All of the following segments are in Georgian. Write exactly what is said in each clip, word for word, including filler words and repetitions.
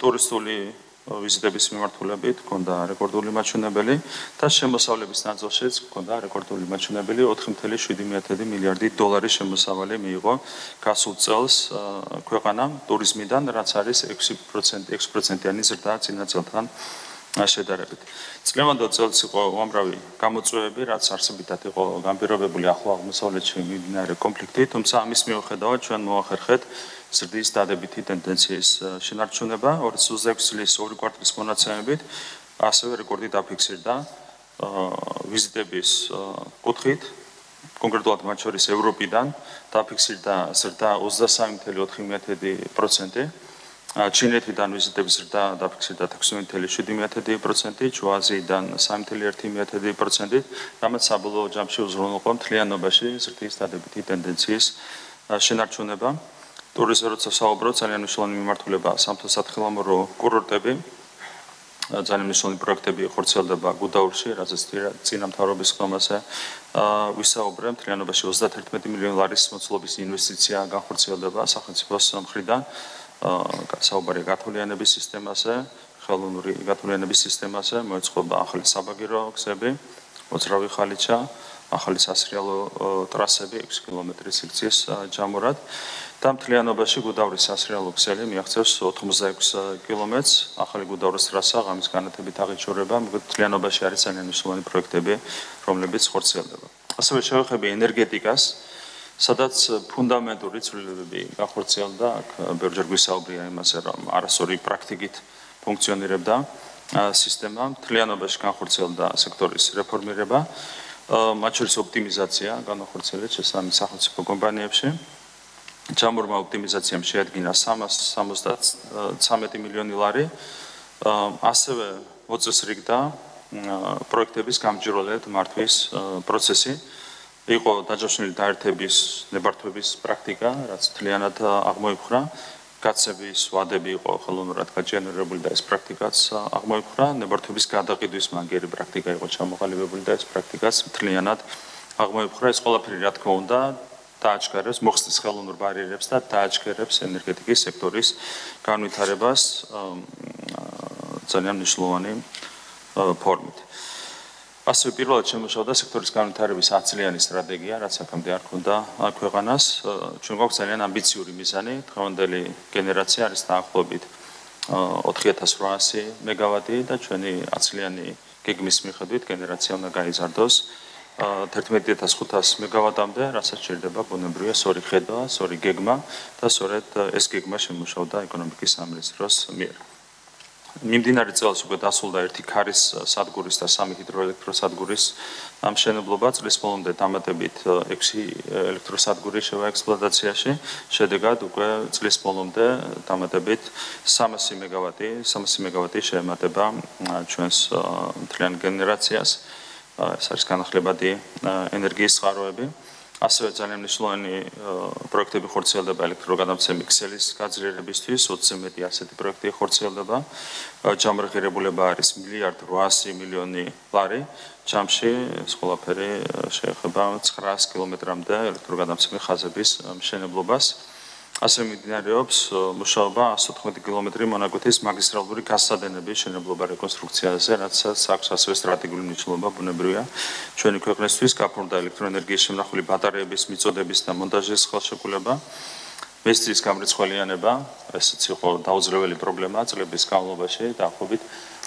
ტურისტული ვიზიტების მიმართულებით ჰქონდა რეკორდული მაჩვენებელი და შემოსავლების ნაწილშიც ჰქონდა რეკორდული მაჩვენებელი ოთხი წუთი შვიდი მილიარდი დოლარის შემოსავალი მიიღო გასულ წელს ქვეყანამ ტურიზმიდან, რაც არის ექვსი პროცენტიანი ზრდა წინა წელთან შედარებით. წლევანდელ წელს იყო უამრავი გამოწვევები, რაც არსებითად იყო განპირობებული ახლო აღმოსავლეთში მიმდინარე კონფლიქტი, თუმცა ამის მიუხედავად ჩვენ მოახერხეთ ზრდის დადებითი ტენდენციის შენარჩუნება. ორი ათას ოცდაექვსი წლის ორი კვარტალის მონაცემებით ასევე რეკორდი დაფიქსირდა ვიზიტების კუთხით, კონკრეტულად მათ შორის ევროპიდან დაფიქსირდა ზრდა ოცდასამი წუთი ოთხი პროცენტი. ჩინეთიდან ვიზიტების ზრდა დაფიქსირდა ექვსი წუთი შვიდი პროცენტი, ჩრდილოაზიიდან სამი წუთი ერთი პროცენტი, რამაც საბოლოო ჯამში უზრუნველყო მთლიანობაში ზრდის დადებითი ტენდენციის შენარჩუნება. ტურიზმზე როცა საუბრობთ, ძალიან მნიშვნელოვანი მიმართულებაა სამთო-სათხილამურო კურორტები. ძალიან მნიშვნელოვანი პროექტები ხორციელდება გუდაურში, რაზეც წინა მთავრობის ხომაზე ვისაუბრე, მთლიანობაში ოცდაათერთმეტი მილიონი ლარის მოცულობის ინვესტიცია განხორციელდება სახელმწიფოს მხრიდან. საუბარია გათვლიანების სისტემაზე, ხელოვნური გათვლიანების სისტემაზე, მოეწყობა ახალი საბაგირო გზები, მოძრავი ხალიჩა, ახალი სასრიალო ტრასები ექვსი კილომეტრის სიქციის ჯამურად და მთლიანობაში გუდაურის სასრიალო გზელი მიაღწევს ოთხმოცდაექვსი კილომეტრს. ახალი გუდაურის ტრასა ღამის განათებით აღიჩურება, მთლიანობაში არის ძალიან მნიშვნელოვანი პროექტები, რომლებიც ხორციელდება. ასევე შევეხები ენერგეტიკას, სადაც ფუნდამენტური ცვლილებები განხორციელდა, აქ ბევრჯერ გვისაუბრია იმაზე, რომ არასწორი პრაქტიკით ფუნქციონირებდა სისტემა, მთლიანობაში განხორციელდა სექტორის რეფორმირება, მათ შორის ოპტიმიზაცია განახორციელეთ შესაბამის სახელმწიფო კომპანიებში. ჯამურმა ოპტიმიზაციამ შეადგინა სამას სამოცდათრამეტი მილიონი ლარი, ასევე მოწესრიგდა პროექტების გამჭვირვალედ მართვის პროცესი. იყო დაჯავშნილი დაერთების ნებართვების პრაქტიკა, რაც მთლიანად აღმოიფხვრა. გაცების ვადები იყო ხელოვნურად გაჯენერირებული და ეს პრაქტიკაც აღმოიფხვრა. ნებართვების გადაყიდვის მაგიერი პრაქტიკა იყო ჩამოყალიბებული და ეს პრაქტიკაც მთლიანად აღმოიფხვრა. ეს ყველაფერი რა თქმა უნდა დააჩქარებს მოხსნის ხელოვნურ ბარიერებს და დააჩქარებს ენერგეტიკის სექტორის განვითარებას ძალიან მნიშვნელოვანი ფორმით. ასევე პირველად შემუშავდა სექტორის განვითარების ათწლიანი სტრატეგია, რაც აქამდე არ ჰქონდა ქვეყანას. ჩვენ გვაქვს ძალიან ამბიციური მიზანი, დღევანდელი გენერაცია არის დაახლოებით ოთხი ათას რვაასი მეგავატი და ჩვენი ათწლიანი გეგმის მიხედვით გენერაცია უნდა გაიზარდოს თერთმეტი ათას ხუთასი მეგავატამდე, რასაც შეიძლება ბუნებრივია სწორი ხედვა, სწორი გეგმა და სწორედ ეს გეგმა შემუშავდა ეკონომიკის სამინისტროს მიერ. მიმდინარე წელს უკვე დასრულდა ერთი ქარის სადგურის და სამი ჰიდროელექტროსადგურის მშენებლობა, წლის ბოლომდე დამატებით ექვსი ელექტროსადგური შევა ექსპლუატაციაში, შედეგად უკვე წლის ბოლომდე დამატებით სამასი მეგავატი, სამასი მეგავატი შეემატება ჩვენს მთლიან გენერაციას, ეს არის განახლებადი ენერგიის წყაროები. ასევე ძალიან მნიშვნელოვანი პროექტები ხორციელდება ელექტროგადამცემი ქსელის გაძლიერებისთვის, ოცზე მეტი ასეთი პროექტი ხორციელდება. ჯამური ღირებულება არის მილიარდი რვაასი მილიონი ლარი. ჯამში ეს ყველაფერი შეეხება ცხრაას კილომეტრამდე ელექტროგადამცემი ხაზების მშენებლობას. ასევე მიმდინარეობს მუშაობა ასი ოთხმეტი კილომეტრი მონაკვეთის მაგისტრალური გაზსადენების მშენებლობა რეკონსტრუქციაზე, რაცაც აქვს ასევე სტრატეგიული მნიშვნელობა ბუნებრივია ჩვენი ქვეყნისთვის, გაფორმდა ელექტროენერგიის შემნახული ბატარეების მიწოდების და მონტაჟის ხელშეკრულება. მესტრის გამრიცხველიანება, ესეც იყო დაუძლეველი პრობლემა წლების განმავლობაში, დაახლოებით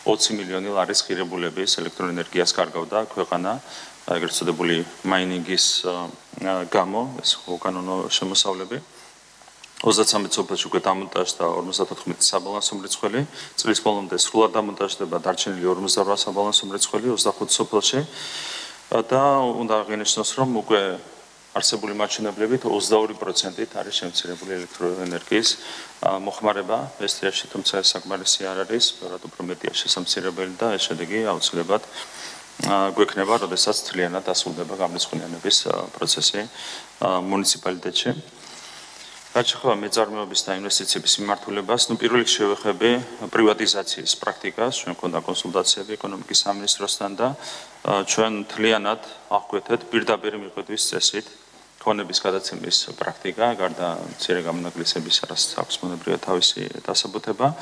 ოცი მილიონი ლარის ღირებულების ელექტროენერგიას კარგავდა ქვეყანა, ეგრეთ წოდებული მაინინგის გამო, ეს უკანონო შემოსავლები. ოცდაცამეტ სოფელში უკვე დამონტაჟდა ორმოცდათოთხმეტი საბალანსო მრიცხველი, წლის ბოლომდე სრულად დამონტაჟდება დარჩენილი ორმოცდარვა საბალანსო მრიცხველი ოცდახუთ სოფელში და უნდა აღინიშნოს, რომ უკვე არსებული მაჩვენებლებით ოცდაორი პროცენტით არის შემცირებული ელექტროენერგიის მოხმარება ესტრიაში, თუმცა ეს საკმარისი არ არის, ბევრად უფრო მეტია შესამცირებელი და ეს შედეგი აუცილებლად გვექნება, როდესაც მთლიანად დასრულდება გამრიცხვლიანების პროცესი მუნიციპალიტეტში. რაც შეეხება მეწარმეობის და ინვესტიციების მიმართულებას, ნუ პირველ რიგში შევეხები პრივატიზაციის პრაქტიკას, ჩვენ გვქონდა კონსულტაციები ეკონომიკის სამინისტროსთან და ჩვენ მთლიანად აღკვეთეთ პირდაპირ მიხედვის წესით ფონების გადაცემის პრაქტიკა, გარდა მცირე გამონაკლისების, რაც აქვს მონებრივია თავისი დასაბუთება.